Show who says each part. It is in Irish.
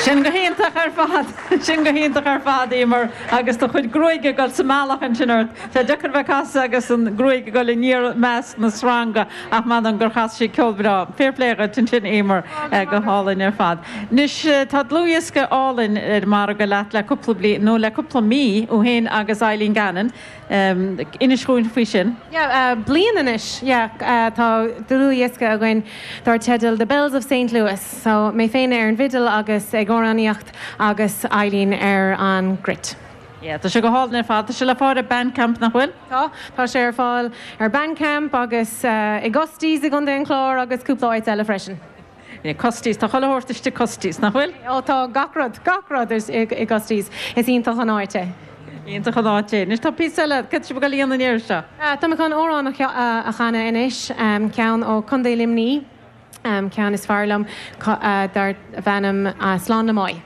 Speaker 1: Sin go hiontach ar fad, sin go hiontach ar fad, Emer, agus do chuid gruaige ag dul sa mbealach ansin ort. Tá sé deacair bheith ag casadh agus an gruaig ag dul aniar i measc na sreanga ach m'anam gur chas sí ceol breá. Fair play dhuit ansin, Emer, go hálainn ar fad. Anois, tá dlúthdhiosca álainn ar an margadh leat le cúpla bliain, nó le cúpla mí, thú féin agus Eileen Gannon. Inis dhúinn faoi sin.
Speaker 2: Yeah, bliain anois, yeah, tá dlúthdhiosca againn dar teideal The Bells of Saint Louis. So, mé féin ar an bhfidil agus ag amhránaíocht agus Eileen ar an gcruit.
Speaker 1: Yeah, tá sé go hálainn ar fad. Tá sé le fáil ar Bandcamp, nach bhfuil?
Speaker 2: Tá, tá sé ar fáil ar Bandcamp agus i gCusty's i gContae an Chláir agus cúpla áit eile freisin.
Speaker 1: Yeah, Custy's, tá chuile shórt istigh Custy's, nach bhfuil?
Speaker 2: Ó tá gach rud, gach rud i gCusty's. Is iontach an áit é.
Speaker 1: Iontach an áit é. Anois tá píosa eile, cad tá sibh ag dul a dhéanamh an iarraidh seo?
Speaker 2: Tá mé chun amhrán a chanadh anois, ceann ó Contae Luimní, ceann is fearr liom, darb ainm Slán le Máigh.